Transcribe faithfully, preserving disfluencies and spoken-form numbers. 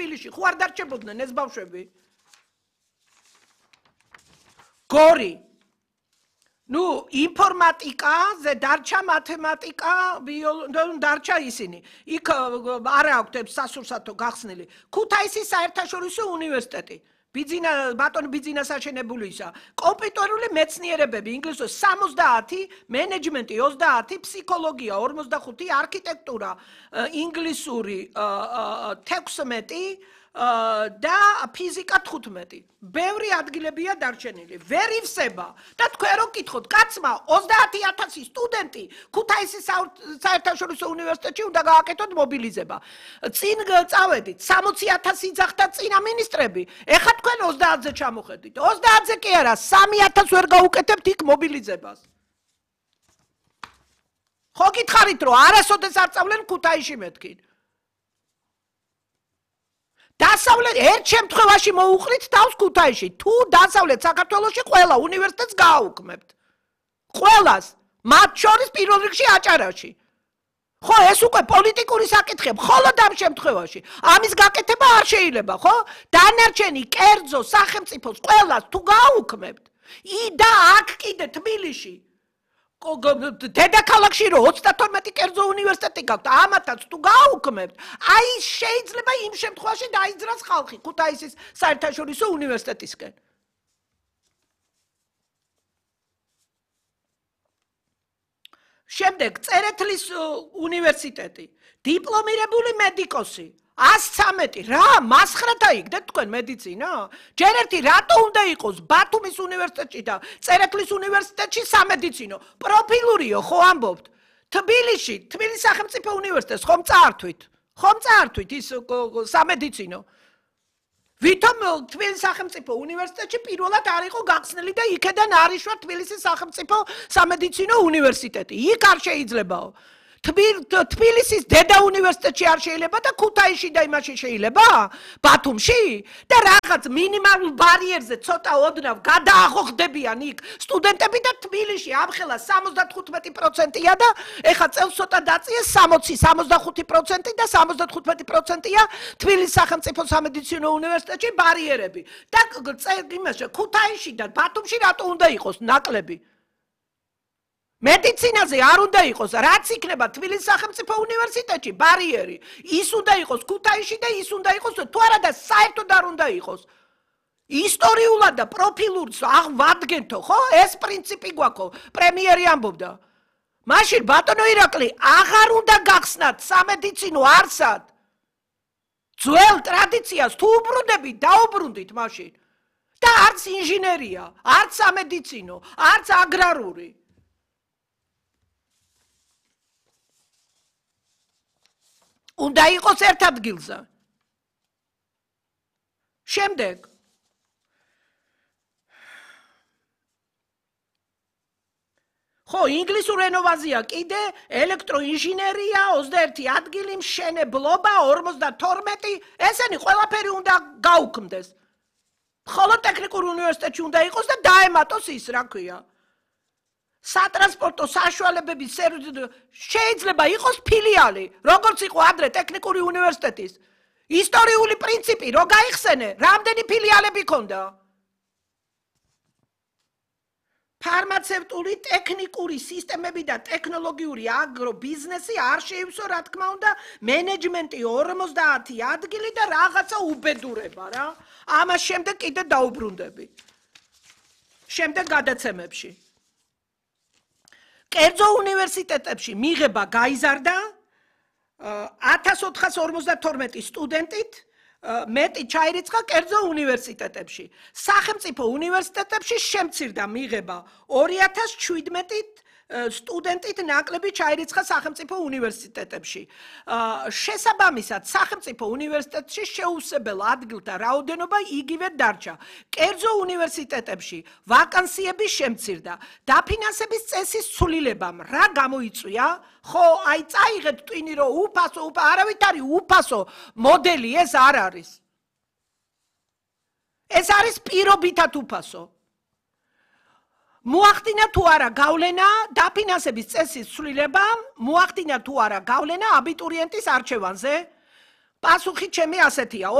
თბილისში, ხო არ დარჩებოდნენ ეს ბავშვები? გორი. ნუ ინფორმატიკა, ზე დარჩა მათემატიკა, დარჩა ისინი. იქ არა აქვთ სასურსათო გახსნილი. ქუთაისის საერთაშორისო უნივერსიტეტი. ბიძინა ბატონ ბიძინას აშენებულისა. კომპიუტერული მეცნიერებები, ინგლისური სამოცდაათი, მენეჯმენტი ოცდაათი, ფსიქოლოგია ორმოცდახუთი, არქიტექტურა, ინგლისური თექვსმეტი და ფიზიკა თხუთმეტი. ბევრი ადგილებია დარჩენილი. ვერ ივსება და თქვენ რო გკითხოთ, კაცმა ოცდაათი ათასი სტუდენტი ქუთაისის საერთაშორისო უნივერსიტეტში უნდა გააკეთოთ მობილიზება. წინ წავედით, სამოცი ათასი იძახდა წინა მინისტრები. ეხლა თქვენ ოცდაათზე ჩამოხედით. ოცდაათზე კი არა, სამი ათასს ვერ გაუკეთებთ იქ მობილიზებას. ხო გითხარით, რომ არასოდეს არ წავლენ ქუთაისში მეთქին. დასავლეთ ერთ შემთხვევაში მოუყრით თავს ქუთაისში. თუ დასავლეთ საქართველოში ყველა უნივერსიტეტს გააუქმებთ. ყველას, მათ შორის პირველ რიგში აჭარაში. ხო, ეს უკვე პოლიტიკური საკითხია, მხოლოდ ამ შემთხვევაში. ამის გაკეთება არ შეიძლება, ხო? დანარჩენი კერძო სახელმწიფოს ყველას თუ გააუქმებთ, და აქ კიდე თბილისში დედაქალაქში რო ოცდათორმეტი კერძო უნივერსიტეტი გაქვთ, ამათაც თუ გააუქმებთ, აი შეიძლება იმ შემთხვევაში დაიძრას ხალხი ქუთაისის საერთაშორისო უნივერსიტეტისკენ. შემდეგ წერეთლის უნივერსიტეტი, დიპლომირებული მედიკოსი, ას ცამეტი, რა, მასხრათა იქნეთ თქვენ მედიცინა? ჯერ ერთი რატო უნდა იყოს ბათუმის უნივერსიტეტში და წერეთლის უნივერსიტეტში სამედიცინო? პროფილურიო, ხო ამბობთ? თბილისში, თბილისის სახელმწიფო უნივერსიტეტს ხომ წაართვით? ხომ წაართვით ის სამედიცინო? ვითომ თბილისის სახელმწიფო უნივერსიტეტში პირველად არ იყო გახსნილი და იქედან არ იშვა თბილისის სახელმწიფო სამედიცინო უნივერსიტეტი. იქ არ შეიძლებაო. თბილისის დედა უნივერსიტეტში არ შეიძლება და ქუთაისში და იმაში შეიძლება? ბათუმში? და რაღაც მინიმალურ ბარიერზე ცოტა ოდნავ გადაახოხდებიან იქ სტუდენტები და თბილისში ამხელა სამოცდათხუთმეტი პროცენტია და ეხა წელს ცოტა დაწიეს სამოცი, სამოცდახუთი პროცენტი და სამოცდათხუთმეტი პროცენტია თბილისის სახელმწიფო სამედიცინო უნივერსიტეტში ბარიერები. და იმაში ქუთაისში და ბათუმში რატო უნდა იყოს ნაკლები? მედიცინაზე არ უნდა იყოს, რაც იქნება თბილისის სახელმწიფო უნივერსიტეტში ბარიერი. ის უნდა იყოს ქუთაისში და ის უნდა იყოს, თუ არა და საერთოდ არ უნდა იყოს. ისტორიულად და პროფილურს ვადგენთო, ხო? ეს პრინციპი გვაქვს, პრემიერი ამბობდა. მაშინ ბატონო ირაკლი, აღარ უნდა გახსნათ სამედიცინო არსად. ძველ ტრადიციას თუ უბრუნდებით, დაუბრუნდით მაშინ. და არც ინჟინერია, არც სამედიცინო, არც აგრარული. უნდა იყოს ერთ ადგილზე. შემდეგ ხო, ინგლისურ ენოვაზია კიდე ელექტროინჟინერია, ოცდაერთი ადგილი, მშენებლობა, ორმოცდათორმეტი, ესენი ყველაფერი უნდა გაუქმდეს. მხოლოდ ტექნიკურ უნივერსიტეტში უნდა იყოს და დაემატოს ის, რა ქვია. სატრანსპორტო საშუალებების შეიძლება იყოს ფილიალი, როგორც იყო ადრე ტექნიკური უნივერსიტეტის. ისტორიული პრინციპი, რო გაიხსენე, რამდენი ფილიალები ქონდა? ფარმაცევტული, ტექნიკური სისტემები და ტექნოლოგიური აგრობიზნესი არ შეივსო, რა თქმა უნდა, მენეჯმენტი ორმოცდაათი ადგილი და რაღაცა უბედურება, რა. ამას შემდეგ კიდე დაუბრუნდები. შემდეგ გადაცემებში. კერძო უნივერსიტეტებში მიღება გაიზარდა ათას ოთხას ორმოცდათორმეტი სტუდენტით, მეტი ჩაირიცხა კერძო უნივერსიტეტებში. სახელმწიფო უნივერსიტეტებში შემცირდა მიღება ორი ათას შვიდმეტით სტუდენტით ნაკლები ჩაირიცხა სახელმწიფო უნივერსიტეტებში. შესაბამისად, სახელმწიფო უნივერსიტეტში შეუსებელ ადგილთა რაოდენობა იგივე დარჩა. კერძო უნივერსიტეტებში ვაკანსიები შემცირდა. დაფინანსების წესის ცვლილებამ რა გამოიწვია? ხო, აი წაიღეთ ტვინი, რომ უფასო, არავით არის უფასო მოდელი, ეს არ არის. ეს არის პირობითად უფასო. მოახდინა თუ არა გავლენა დაფინანსების წესის ცვლილებამ, მოახდინა თუ არა გავლენა აბიტურიენტის არჩევანზე? პასუხი ჩემი ასეთია.